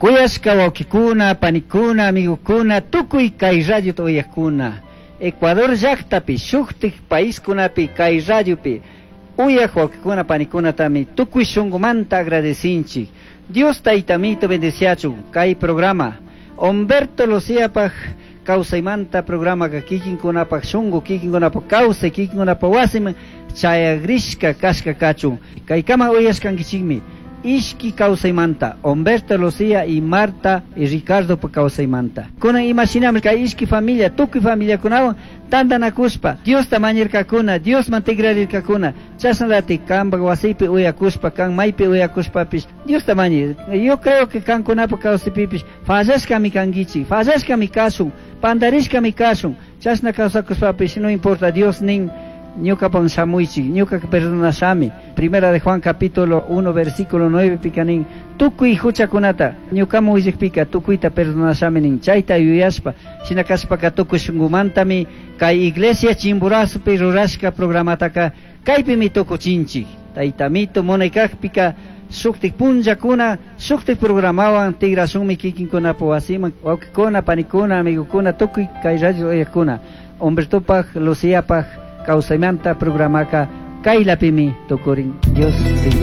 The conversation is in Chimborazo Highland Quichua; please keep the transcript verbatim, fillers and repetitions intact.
Kuyashka wawkikuna, panikuna, amigokuna, tukuy kay radiota uyakuna. Ecuador llaktapi, shuktik paiskunapi, kay radiopi, uyak wawkikuna, panikunatami tukuy shunkumanta agradecinchik. Dios taytamito bendeciachun kay programa. Humberto Luciapaj kawsaymanta programaka kikinkunapaj shunku, kikinkunapaj kawsay, kikinkunapaj wasiman chayagrishka kashka kachun. Kaykama uyashkankichikmi. Ishki kawsaymanta, Humberto Lucía y Marta y Ricardo kawsaymanta. Kunan imashinami kay ishki familia, tukuy familiakunawan tantanakushpa, Diosta mañirkakuna, Diosman tigrarirkakuna, chashnallati kanpak wasipi uyakushpa, kan maypi uyakushpapish, Diosta mañir. Yo creo que kankunapa kawsaypipish fallashkami kankichik, fallashkami kashun, pandarishkami kashun, chashna kawsakushpapish no importa, Dios nin ñukapan shamuychik, ñuka perdonashami. Primera de Juan capítulo uno versículo nueve pika nin, tukuy huchakunata ñukaman willakpika tukuyta perdonashami nin, chayta yuyashpa, shina kashpaka tukuy shunkumantami kay iglesia Chimborazopi rurashka programataka kaypimi tukuchinchik. Taytamito munaykakpika shuktik punllakuna, shuktik programawan tigrashunmi kikinkunapa wasiman, wawkikuna, panikuna, amigokuna, tukuy kay radio uyakuna. Humbertopaj, Luciapaj kawsaymanta programaka kaylapimi tukurin. Dios bendice.